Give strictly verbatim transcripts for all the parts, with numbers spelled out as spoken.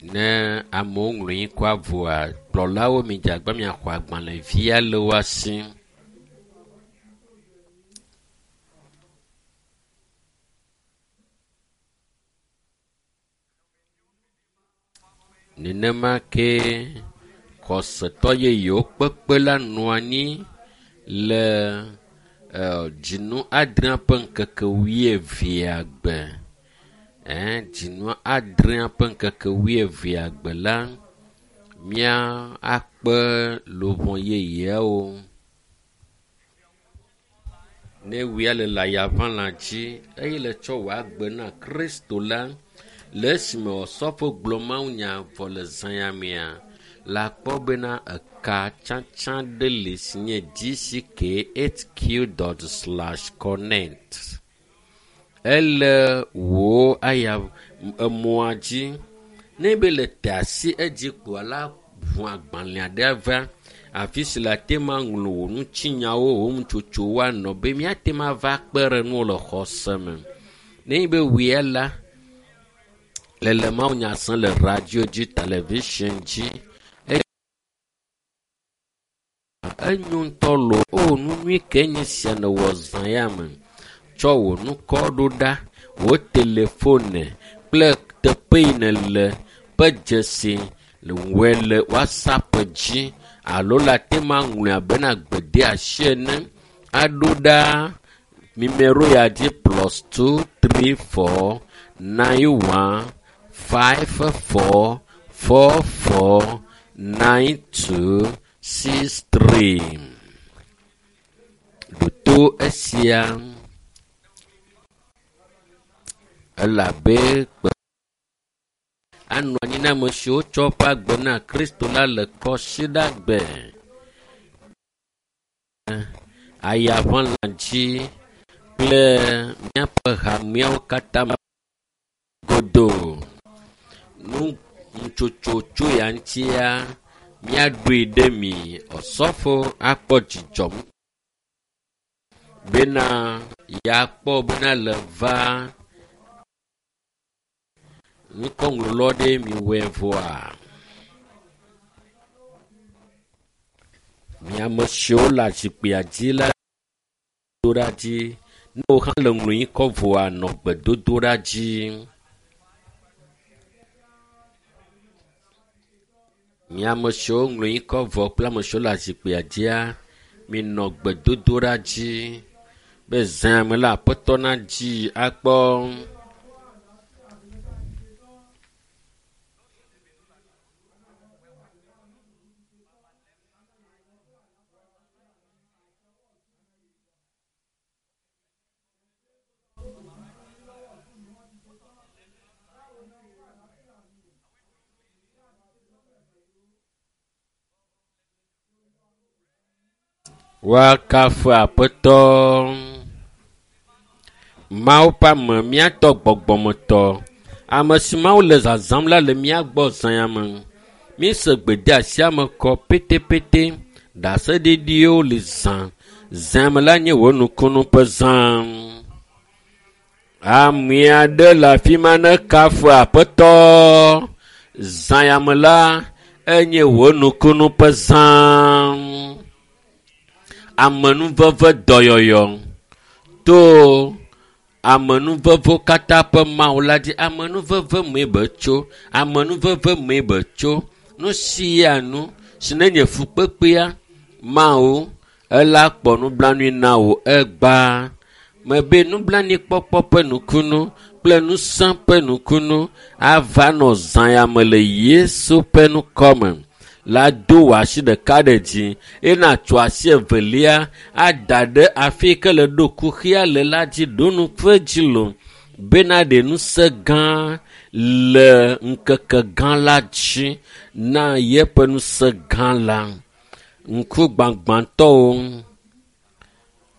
Ne amewo ŋlɔ ŋkɔa vɔa, kplɔlawo midze agbagba miaxɔ agbalẽvia le woa si. Nenema ke xɔsetɔ yeyewo kpekpe la nɔ anyi le dzinu adrea ƒe ŋkeke wuievea gbe. Ɛɛ dzinu adrea ƒe ŋkeke wuievea gbe la, mía akpe luʋɔ yeyeawo. Ne wia le le ayaʋalã dzi eye le tsɔ wò agbe na Kristo la, le esime Osɔfo gblɔ mawunya vɔ le zã ya mea, la kpɔ bena eka tsatsa ɖe li si nye dck hq dot slash connect. Ele wò aya emɔa dzi. Ne be le te asi edzi kpoa la ʋu agbalẽ aɖe va afi si le ate ma ŋlɔ wò ŋutinyawo, wò nutsotsowo anɔ be míate ma va kpe ɖe ŋuwò le xɔse me. Ne be wòe la, le le mawunya sem le radio dzi, television dzi. Enyo ŋutɔ lo o nu nyui ke nye sia nèwɔ zã ya me. Tsɔ wò ŋkɔ ɖo ɖa, wò telefone kple teƒe yi nèle ƒe dzesi wɔe le WhatsApp dzi alo le ate ma ŋlɔe abena gbedeasi ene aɖo ɖa numero ya dzi plus two three four nine one five four four four nine two six three. Ɖo to esia elabe kpe anɔ anyi na ame siwo tsɔ woƒe agbe na Kristo la le kɔsiɖagbe. Ayaʋalã dzi kple míaƒe hameawo katã godoo. Nu nutsotso tso ya ŋutia, míaɖoe ɖe mi. Osɔfo akpɔ dzidzɔ bena yeakpɔ bena le va ŋkɔŋlɔlɔ ɖe miwɔe vɔa. Mi ame siwo le zikpuia dzi la do ɖa dzi. Ne wò hã le ŋlɔ ŋkɔ vɔa, nɔ gbedodoɖa dzi. Mi ame siwo ŋlɔ ŋkɔ vɔ kple ame siwo le zikpuia dzia, minɔ gbedodoɖa dzi be zã me la Aƒetɔ nadzi akpɔ. Woakafu Aƒetɔ. Mawu ƒe ame, míatɔ gbɔgbɔmetɔ. Ame si Mawu le zazãm la le mía gbɔ zã ya me. Míese gbedeasia me kɔ petepete. Ɖaseɖiɖiwo li zã. Zã me la nye wò nukunu ƒe zã. Ame aɖe le afi ma ne kafu Aƒetɔ. Zã ya me la enye wò nukunu ƒe zã. Amenuveve dɔyɔyɔ to amenuvevewo katã ƒe Mawu la dzi. Amenuveve mee be tso, amenuveve mee be tso. Nu sia nu si ne nye fukpekpea, Mawu ela kpɔ nublanui na wò egbea. Mebe nublanuikpɔkpɔ ƒe nukunu kple ŋusẽ ƒe nukunu ava nɔ zã ya me le Yesu ƒe ŋkɔme. La do wò asi ɖeka ɖe dzi eye nàtsɔ asi evelia ada ɖe afi yi ke le ɖo kuxia le la dzi ɖo nuƒe dzi lo bena ɖe ŋusẽ gã le ŋkeke gã la dzi na yeƒe ŋusẽ gã la. Ŋku gbagbãtɔwo,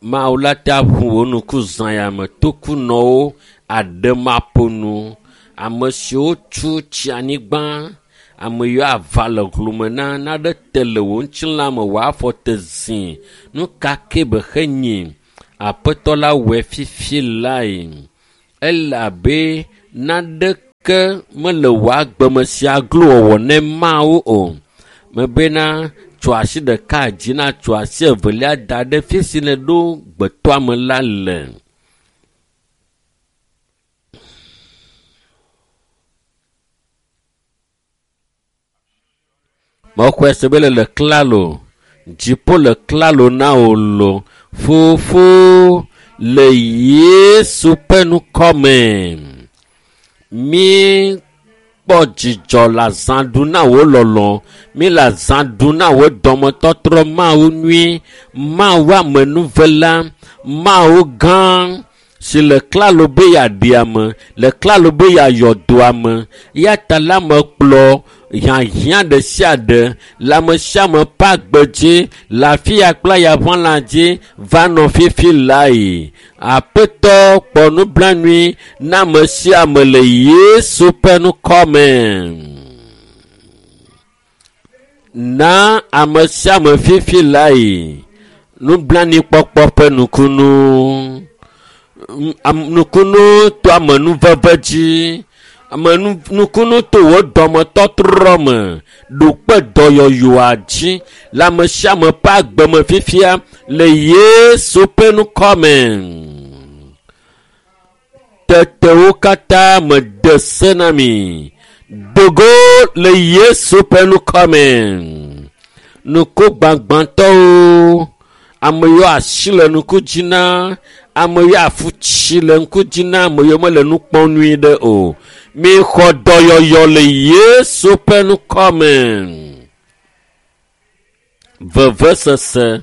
Mawu la te ʋu wò ŋku zã ya me. Tokunɔwo aɖemaƒonu, ame siwo tu tsi anyigba, ame yiwo ava le hlome na naɖe te le wò ŋutilã me wò afɔ te zi. Nu ka ke be xenyi? Aƒetɔ la wɔe fifi lae. Elabe naɖe Ke mele wò agbeme sia glo wɔwɔ ne Mawu o. Mebena tso asi ɖeka dzi na tso asi evelia da ɖe fi si nèɖo gbetɔame la le. Mexɔe se be le le klalo, dziƒo le klalo na wò lo. Fofo le Yesu ƒe ŋkɔme. Míkpɔ dzidzɔ le azã ɖum na wò lɔlɔ̃. Míle azã ɖum na wò dɔmetɔtrɔ Mawu nyui, Mawu amenuvela, Mawu gã si le klalo be yeaɖi ame, le klalo be yeayɔ dɔ ame. Eya ta la mekplɔ hiahiã ɖe sia ɖe le ame sia ame ƒe agbe dzi le afi ya kple ayaʋãla dzi va nɔ fifi lae. Aƒetɔ kpɔ nublanui na ame sia ame le Yesu ƒe ŋkɔme. Na ame sia ame fifi lae nublanuikpɔkpɔ ƒe nukunu. Nukunu to amenuveve dzi. Ame nukunu to wò dɔmetɔtrɔ me ɖo kpe dɔyɔyɔa dzi le ame sia ame ƒe agbeme fifia le Yesu ƒe ŋkɔme. Tete wo katã mede se na mi. Dogo le Yesu ƒe ŋkɔme. Nuku gbagbãtɔwo, ame yiwo asi le nuku dzi na, ame yiwo afu tsi le ŋku dzi na, ame yiwo mele nu kpɔm nyuie ɖe o. Mixɔ dɔyɔyɔ le Yesu ƒe ŋkɔme. Vevesese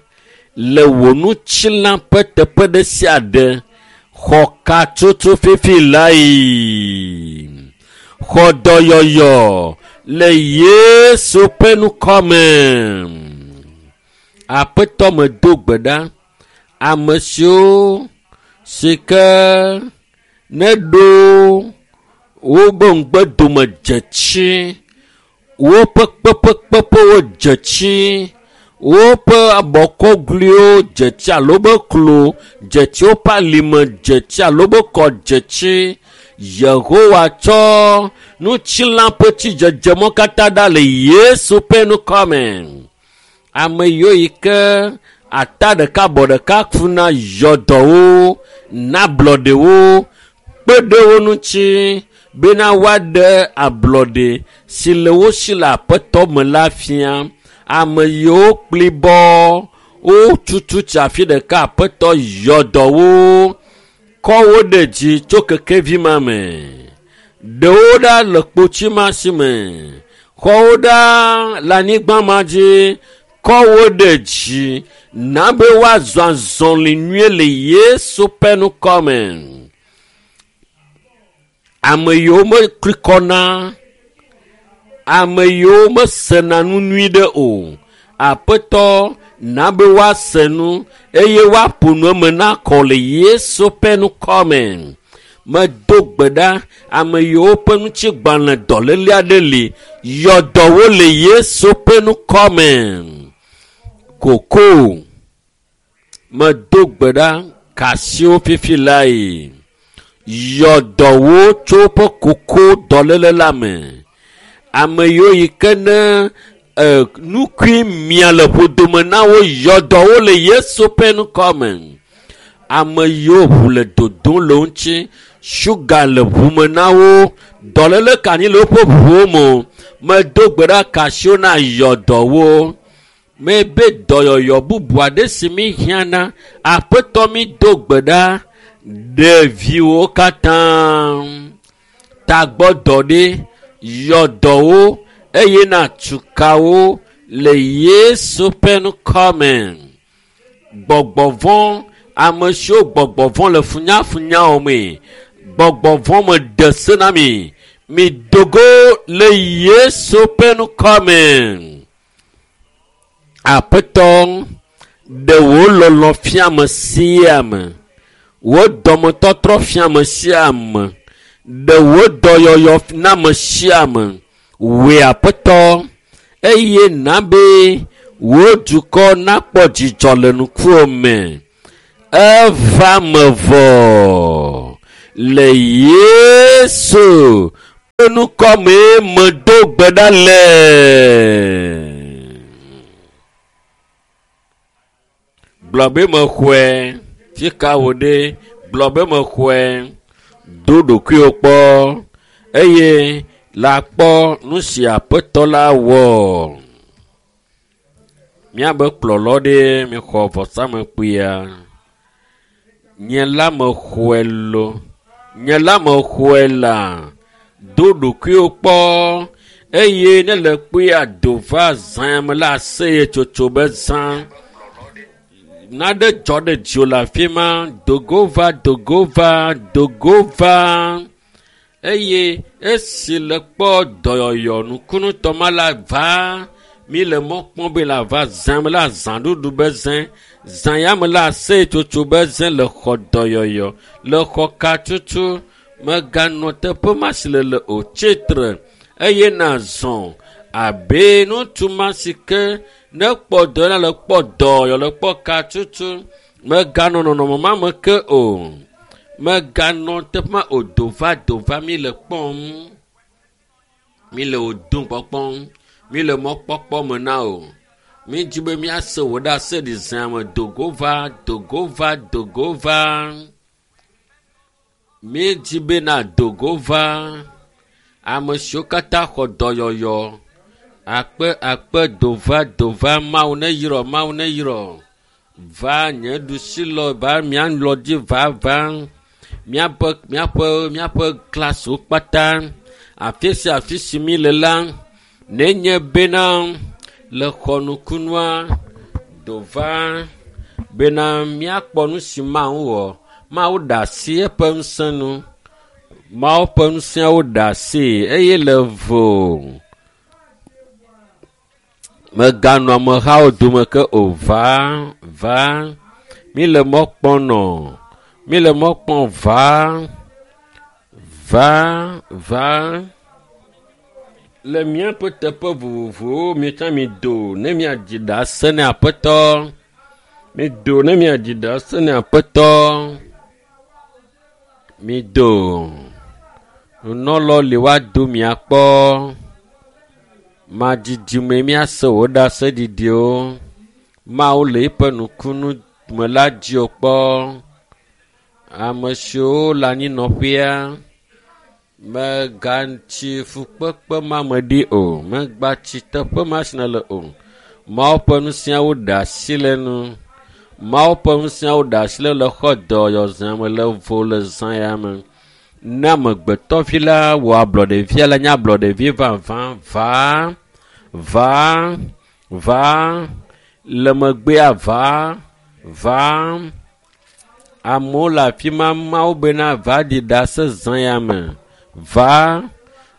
le wò ŋutilã ƒe teƒe ɖe sia ɖe xɔ katsotso fifi lae. Xɔ dɔyɔyɔ le Yesu ƒe ŋkɔme. Aƒetɔ medo gbe ɖa. Ame siwo si ke neɖo wobe ŋugbedome dze tsi, woƒe kpeƒekpeƒewo dze tsi, woƒe abɔkɔgluiwo dze tsi alo wobe klo dze tsi, woƒe alime dze tsi alo wobe kɔ dze tsi. Yehowa tsɔ ŋutilã ƒe tsidzedzemɔ katã ɖa le Yesu ƒe ŋkɔme. Ame yiwo yi ke ata ɖeka bɔ ɖeka funa yɔ dɔwo, na ablɔɖewo, kpe ɖe wo ŋuti bena woaɖe ablɔɖe si le wo si le aƒetɔ me la fia. Ame yiwo kplibɔ wotutu tsi afi ɖeka aƒetɔ yɔ dɔwo, kɔ wo ɖe dzi tso kekevi ma me. Ɖewo ɖa le kpotsi ma si me, xɔ wo ɖa le anyigba ma dzi, kɔ wo ɖe dzi na be woazɔ azɔli nyuie le Yesu ƒe ŋkɔme. Ame yiwo mekli kɔna, ame yiwo mesena nu nyui ɖe o, Aƒetɔ na be woase nu eye woaƒo nu eme na kɔ le Yesu ƒe ŋkɔme. Medo gbe ɖa ame yiwo ƒe ŋutigbalẽ dɔléle aɖe li, yɔ dɔ wo le Yesu ƒe ŋkɔme. Koko medo gbe ɖa kasiwo fifi lae. Yɔ dɔ wo tso woƒe koko dɔléle la me. Ame yiwo yi ke ne e, nukui mia le ƒodome na wo yɔ dɔ wo le Yesu ƒe ŋkɔme. Ame yiwo ʋu le dodom le wo ŋuti, suga le ʋume na wo, dɔléle ka anyi le woƒe ʋuwo me o. Medo gbe ɖa kasiwo na yɔ dɔ wo. Mebe dɔyɔyɔ bubu aɖe si mi hiã na, Aƒetɔ mi do gbe ɖa ɖeviwo katã. Tagbɔ dɔ ɖe, yɔ dɔ wo eye na tuka wo le Yesu ƒe ŋkɔme. Gbɔgbɔ vɔ̃, ame siwo gbɔgbɔ vɔ̃ le funyafunya me, gbɔgbɔ vɔ̃ me ɖe se na mi. Mi dogo le Yesu ƒe ŋkɔme. Aƒetɔ, ɖe wò lɔlɔ̃ fia ame sia ame, wò dɔmetɔtrɔ fia ame sia ame, ɖe wò dɔyɔyɔ na ame sia ame. Wòe Aƒetɔ, eye na be wò dukɔ nakpɔ dzidzɔ le ŋkuwò me. Eva me vɔ le Yesu ŋkɔ mee medo gbe ɖa le. Gblɔ be mexɔe. Fi ka wò ɖe? Gblɔ be mexɔe. Do ɖokuiwò kpɔ eye la kpɔ nu si aƒetɔ la wɔ. Míabe kplɔlɔ ɖe mixɔ vɔsamekpuia. Nye la mexɔe lo. Nye la mexɔe la. Do ɖokuiwò kpɔ eye ne le kpuia do va zã me la aseyetsotso be zã. Naɖe dzɔ ɖe dziwò le afi ma. Dogo va, dogo va, dogo va. Eye esi le kpɔ dɔyɔyɔ nukunutɔ ma la va, mi le mɔ kpɔm be la va zã me la zãɖuɖu be zẽ. Zã ya me la aseyetsotso be zẽ le xɔ dɔyɔyɔ, le xɔ katutu. Meganɔ teƒe ma si le le o. Tsitre eye nazɔ abe ŋutsu ma si ke ne kpɔ dɔ la le kpɔ dɔyɔ le kpɔ katutu. Meganɔ nɔnɔme ma me ke o. Meganɔ teƒe ma o. Do va, do va, mi le kpɔm. Mi le wò dom kpɔkpɔm. Mi le mɔkpɔkpɔ me na o. Mi dzi be míase wò ɖe ase ɖi zã me. Dogo va, dogo va, dogo va. Mi dzi be na dogo va. Ame siwo katã xɔ dɔyɔyɔ. Akpe, akpe, do va, do va. Mawu ne yrɔ, Mawu ne yrɔ. Va nye ɖusi lɔ, va mía lɔ dzi va, va. Míaƒe, míaƒe, míaƒe klasiwo kpata. Afi sia afi si mi le la, nenye bena le xɔ nukunua, do va bena míakpɔ nu si Mawu wɔ. Mawu ɖe asi eƒe ŋusẽ nu. Mawu ƒe ŋusẽawo ɖe asi eye le vo. Meganɔ amehawo dome ke o. Va, va. Mi le mɔ kpɔm nɔ. Mi le mɔ kpɔm va, va, va. Le míaƒe teƒe vovovowo mietsã mi do ne miadzi ɖase ne aƒetɔ. Mi do ne miadzi ɖase ne aƒetɔ. Mi do. Nunɔlɔ li woado miakpɔ. Madzidzi me míase wò ɖaseɖiɖiwo. Mawu le eƒe nukunu me la dziwò kpɔ. Ame siwo le anyinɔƒea megatsi fukpekpe ma me ɖi o. Megatsi teƒe ma si nèle o. Mawu ƒe ŋusẽawo ɖe asi le nu. Mawu ƒe ŋusẽawo ɖe asi le le xɔ dɔyɔzã me le vo le zã ya me. Ne amegbetɔvi la wɔ ablɔɖevia la nye ablɔɖevi vavã. Va, va, va. Le megbea va, va. Amewo le afi ma Mawu bena va ɖi ɖase zã ya me. Va,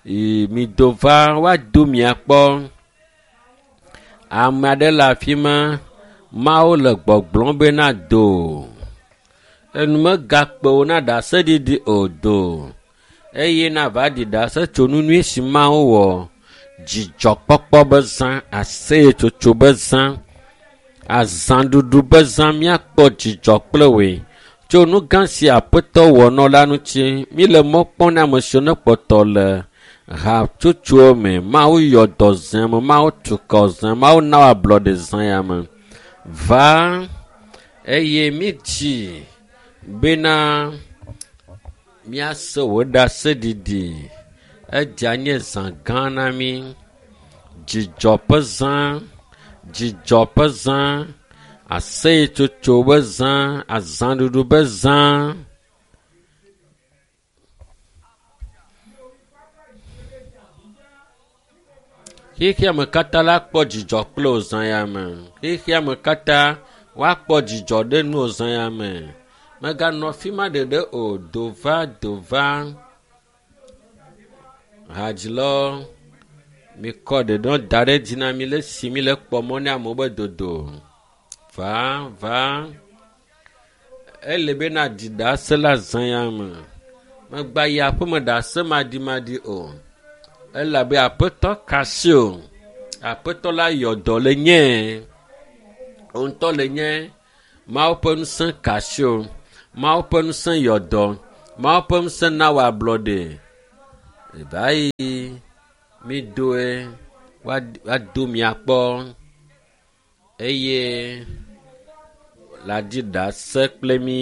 mi do va, woado miakpɔ. Ame aɖe le afi ma, Mawu le gbɔgblɔm bena do. Enu megakpe wò na ɖaseɖiɖi o do. Eye nava ɖi ɖase tso nu nyui si Mawu wɔ. Dzidzɔkpɔkpɔ be zã, aseyetsotso be zã, azãɖuɖu be zã, míakpɔ dzidzɔ kple wòe. Tso nu gã si aƒetɔ wɔ nɔ la ŋuti, mi le mɔ kpɔm na ame siwo ne kpɔtɔ le hatsotsowo me. Mawu yɔ dɔ zã me, Mawu tu kɔ zã, Mawu na wò ablɔɖe zã ya me. Va eye mi dzi bena míase wò ɖaseɖiɖi. Edze nye zã gã na mí. Dzidzɔ ƒe zã, dzidzɔ ƒe zã, aseyetsotso be zã, azãɖuɖu be zã. Xexea me katã la kpɔ dzidzɔ kple wò zã ya me. Xexea me katã woakpɔ dzidzɔ ɖe nu wò zã ya me. Meganɔ afi ma ɖeɖe o. Do va, do va. Hadzilawo, mikɔ ɖeɖe da ɖe dzi na mi le esi mi le kpɔ mɔ ne amewo be dodo. Va, va. Ele be na ɖi ɖase le azã ya me. Megba yi aƒeme ɖase maɖimaɖi o. Elabe aƒetɔ kasi o. Aƒetɔ la yɔ dɔ le nye. Wò ŋutɔ le nye. Mawu ƒe ŋusẽ kasi o. Mawu ƒe ŋusẽ yɔ dɔ. Mawu ƒe ŋusẽ na wò ablɔɖe. Eva yi mi doe woado miakpɔ eye la dzi ɖase kple mi.